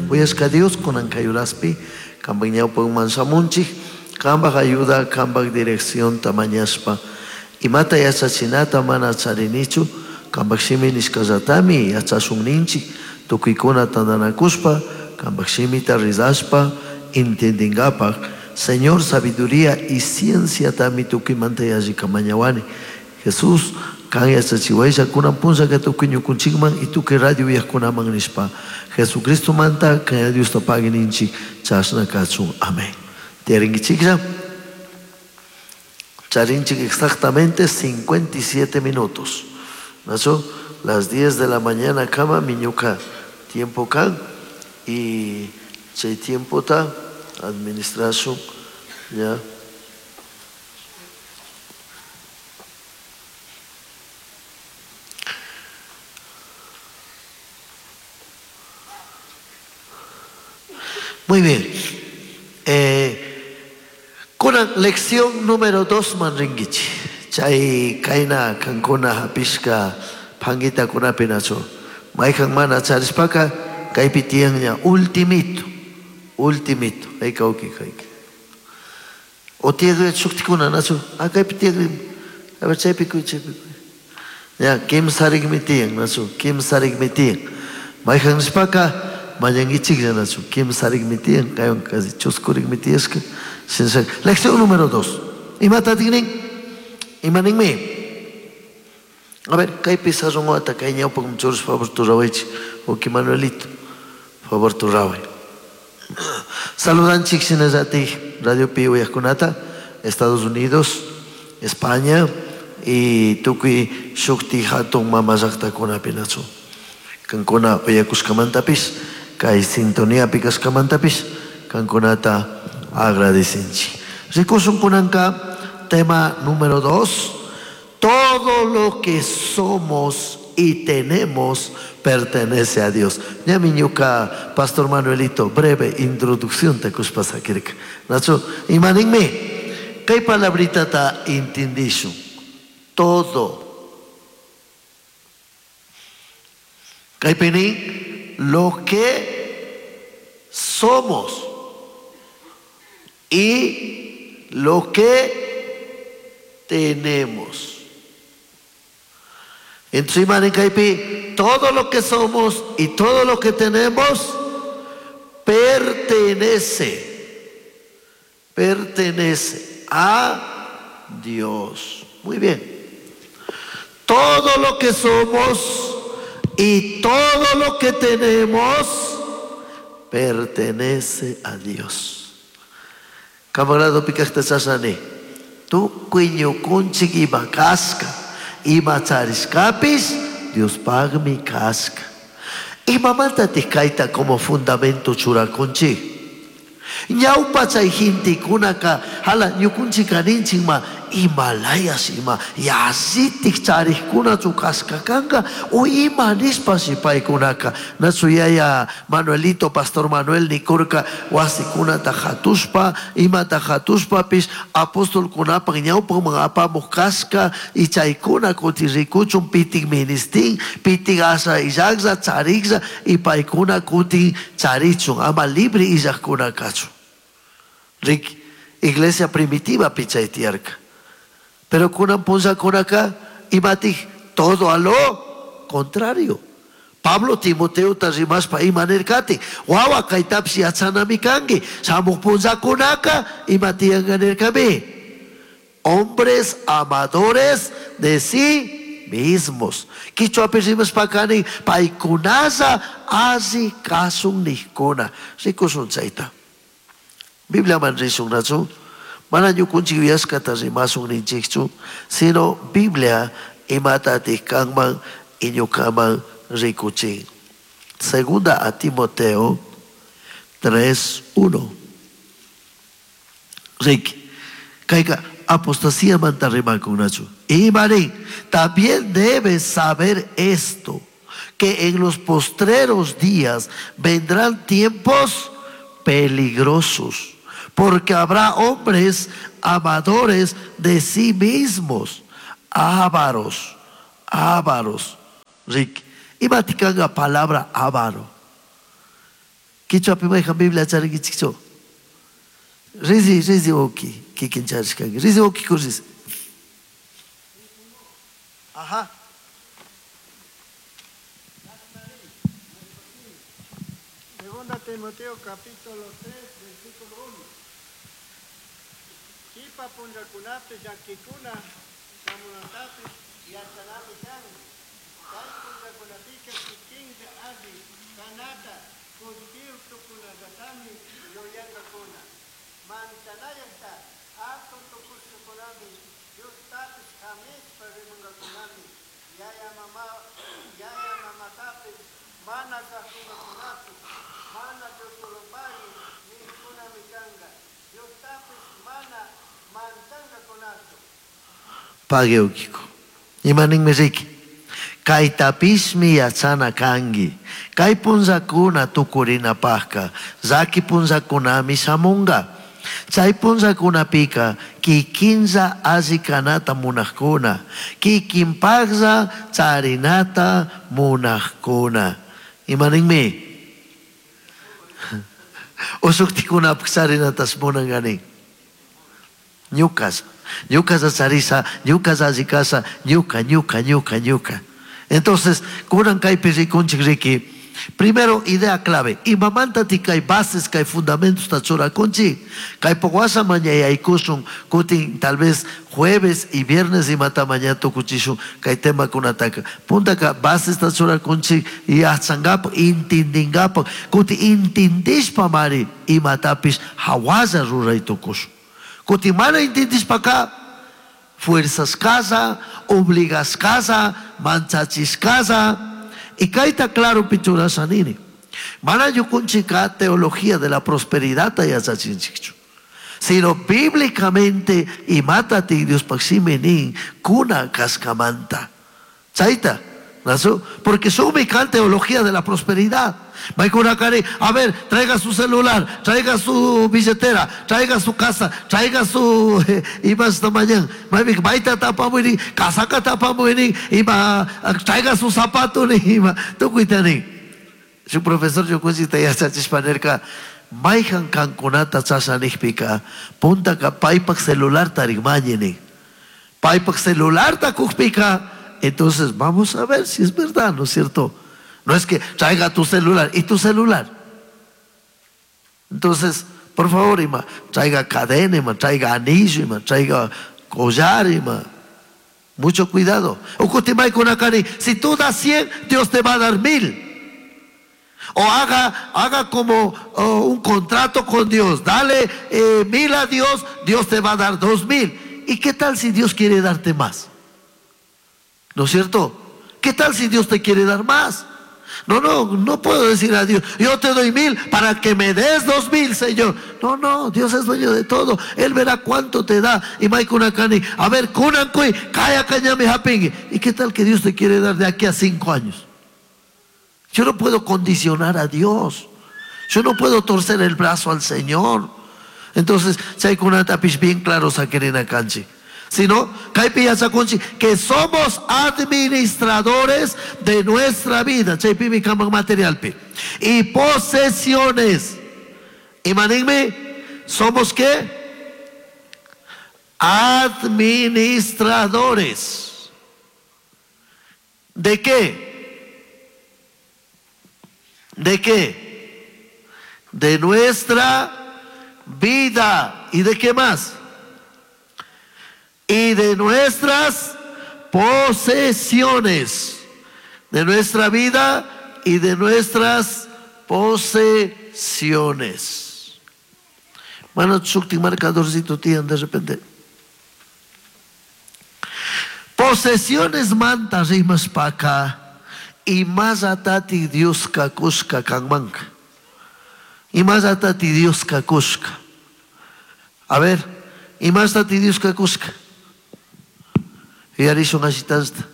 Kuyashka Dios kunan kay uraspi kanpak ñawpakman shamunchik, kanpak ayuda, kanpak direccionta mañashpa. Imata yachachinata mana charinichu, kanpak shimi nishkallatami yachashun ninchik, tukuykuna tantanakushpa, kanpak shimita rizashpa, entendingapak, Señor, sabiduría y cienciatami tukuymanta yallika mañawani. Jesús, kan yachachiwaylla kunan punllaka tukuy ñukunchikman y tukuy radio uyajkunaman nishpa. Jesucristo manta kan Diosta pagui ninchik, chashna kachun. Amén. Tiyarinkichiklla. Charinchik exactamente 57 minutos. Nacho, las 10 de la mañana kama miñuka tiempo kan y chay tiempo ta administración ya. Muy bien. Kunan lección número 2 manringuichi. Chay kaina kankuna hapishka pangita kunapi nacho. Mayhan mana charishpaka kaypi tiyanña ultimito. Ultimito. Hayka uki hayka. O tiyagri shuktikuna nacho. Ah, kaypi tiyagri. A ver, chaypi kuy, chaypi kuy. Ya, kimsarikmi tiyan nacho. Kimsarikmi tiyan. Mayhan nishpaka mañankichiklla nacho. Kimsarikmi tiyan. Kaywan casi chuskurikmi tiyashka. Lección número 2. Imata tignin? Imaninmi? A ver, kay pizarrón wata, kay ñawpak muchurus, favor tu rawaychi. Oki Manuelito, favor tu raway. Saludanchik shinallati Radio Pi uyajkunata, Estados Unidos, España y tukuy shukti hatun mama llaqtakunapi nachu. Kankuna uyakushkamantapis, kay sintonía pikashkamantapis, kankunata agradecinchik. Rikushun kunanka, tema número 2. Todo lo que somos y tenemos pertenece a Dios. Ñamiñuka, Pastor Manuelito, breve introducción te kushpasakirka. Nacho, imaninmi, kay palabrita ta intindishu? Todo. Kay pini, lo que somos y lo que tenemos. Entonces, imanin kaypi, todo lo que somos y todo lo que tenemos pertenece a Dios. Muy bien. Todo lo que somos y todo lo que tenemos pertenece a Dios. Camarada pikasta chasani, tukuy ñukunchik ima kasqa, ima charishkapis, Dios pagmi kasqa. Imamanta tikayta como fundamento churakunchik. Ñawpa chay gentekunaka, hala ñukunchik kaninchik ma, Himalayas ima, yasitik charishkunachu kasqa kanka, o ima nispa si paykunaka. Nachu yaya Manuelito, Pastor Manuel nikurka, wasikunata hatuspa, imata hatuspapis, apostolkunapak ñawpakman apamuq kasqa, y chaykuna kuti rikuchun pitik ministin, pitik asa illaqlla, chariklla, y paykuna kutin charichun, ama libre illaqkuna kachun. Rick, iglesia primitiva pichay tiyarka. Pero kunan punllakunaka, imatik todo a lo contrario. Pablo Timoteo ta rimashpa ima nirkati, wawa kaytapish yachanami kanki, shamuq punllakunaka ima tiyanka nirkami. Hombres amadores de sí mismos. Quichuapi rimashpa kani, paykunalla alli kasun nijkuna. Rikushun chayta. Biblia man rishun nachu, mana ñukunchik yuyashkata rimasun ninchikchu, sino Biblia imatatik kanman y ñukaman rikuchin. Segunda a Timoteo 3:1. Rick, kayka apostasía manta rimakun nachu. Y marín, también debes saber esto, que en los postreros días vendrán tiempos peligrosos, porque habrá hombres amadores de sí mismos, ávaros, ávaros. Rick, y maticanga palabra avaro. Kichwapi mayhan Biblia charinkichikchu? Rizi, rizi uki, kikin charishkanki. Rizi uki kuris. Ajá. Segunda Timoteo capítulo 3, versículo 1. Kipa punllakunapi llakikuna shamunatapish yachanami kan. Kay punllakunapika kikinlla alli kanata kullkiyuq tukunallatami yuyankakuna. Manchanayaqta hatun tukushkakunami Diostapish hamishpa rimankakunami. Yaya mama yaya mamatapish mana kasunkakunachu, mana Diosolopagui nijkunami kanka. Diostapish mana manchankakunachu. Pague ukiko. Imaninmi riki. Kaytapishmi yachana kanki. Kay punllakuna tukurinapajka, llaki punllakunami shamunka. Chay punllakunapika kikinlla alli kanata munajkuna, kikinpajlla charinata munajkuna. Imaninmi? Ushuktikunapaj charinatas munankani. Ñukas, ñukas charisa, ñukas alli kasha, ñuka, ñuka, ñuka, ñuka. Entonces, kunan kaypi rikunchik riki. Primero, idea clave. Imamanta ti kay bases, kay fundamentos ta churakunchik. Kay pokwasa mañayaykushun, kutin tal vez jueves y viernes imata mañana tukuchishun kay tema kunataka. Puntaka bases ta churakunchik yachankapak, intindinkapak, kutin intindishpa mari imatapish hawalla ruray tukushun. Kutin mana intindishpaka fuerzas casa, obligas casa, manchachis casa. Y kayta claro pichurasha nini. Mana ñukunchika teología de la prosperidad yachachinchikchu. Sino bíblicamente imata ti Dios paxime nin kuna kaskamanta. Chayta, ¿nasu? Porque sumi kan teología de la prosperidad. Maykunakari, a ver, traiga su celular, traiga su billetera, traiga su casa, traiga su ima esta mañana. Mayta tapamuini, casaca tapamuini, ima, traiga su zapato, ni, ima, tukuitani. Su profesor ñukunchikta yachachishpanerka, mayhan kankunata chashanijpika, puntaka paypak celular tarikmañini. Paypak celular takujpika, entonces vamos a ver si es verdad, ¿no es cierto? No es que traiga tu celular y tu celular. Entonces, por favor, ima, traiga cadena, ima, traiga anillo, ima, traiga collar, ima. Mucho cuidado. Ukutimay kunakani, si tú das 100, Dios te va a dar 1000. O haga como un contrato con Dios. Dale 1000 a Dios, Dios te va a dar 2000. ¿Y qué tal si Dios quiere darte más? ¿No es cierto? ¿Qué tal si Dios te quiere dar más? No, no, no puedo decir a Dios, yo te doy 1000 para que me des 2000, Señor. No, no, Dios es dueño de todo. Él verá cuánto te da. Y Maikunakani, a ver, kunankui, kaya kañami hapingi. ¿Y qué tal que Dios te quiere dar de aquí a 5 años? Yo no puedo condicionar a Dios. Yo no puedo torcer el brazo al Señor. Entonces, chaykunatapish bien claro saquerina kanchi. Si no, kaypi yachakunchik que somos administradores de nuestra vida. Chaypimi kaman materialpi. Y posesiones. Imaninmi, ¿somos qué? Administradores. ¿De qué? ¿De qué? De nuestra vida. ¿Y de qué más? Y de nuestras posesiones. De nuestra vida y de nuestras posesiones. Bueno, shukti marcadorcito tienen de repente. Posesiones manta rimas paca y más atati Dios kakushka kanmanka. Y más atati Dios kakushka. A ver, y más atati Dios kakushka. Y arishun ashitasta.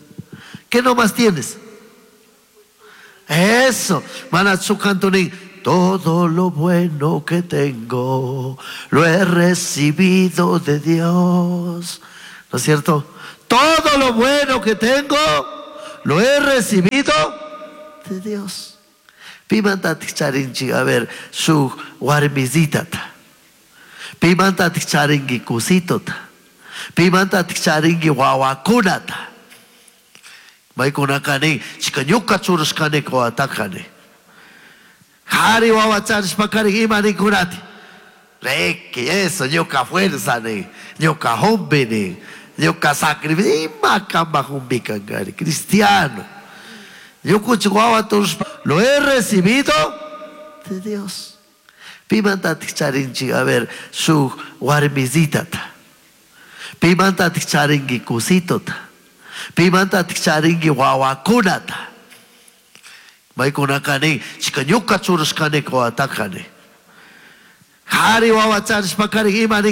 ¿Qué nomás tienes? Eso. Manatsukantunin. Todo lo bueno que tengo lo he recibido de Dios. ¿No es cierto? Todo lo bueno que tengo lo he recibido de Dios. Pimantatik charinchik, a ver, shuk warmisitata? Pimantatik charinki kusitota? Pimantatik charinki wawakunata? Maykunaka nin, chika ñuka churashkani wawataka nin. Jari wawa charishpakarin ima ninkunati? Reki, eso, ñuka fuerza nin, ñuka humbi nin, ñuka sacrificio, ima kamba humbi kankari, cristiano. Ñukunchik wawa turushpa, lo he recibido de Dios. Pimantatik charinchik, a ver, shuk warmisitata? Pimantatik charinki kusitota? Pimantatik charinki wawakunata? Maykunaka nin, chika ñuka churashkani wawataka nin. Jari wawa charishpakarin ima nin.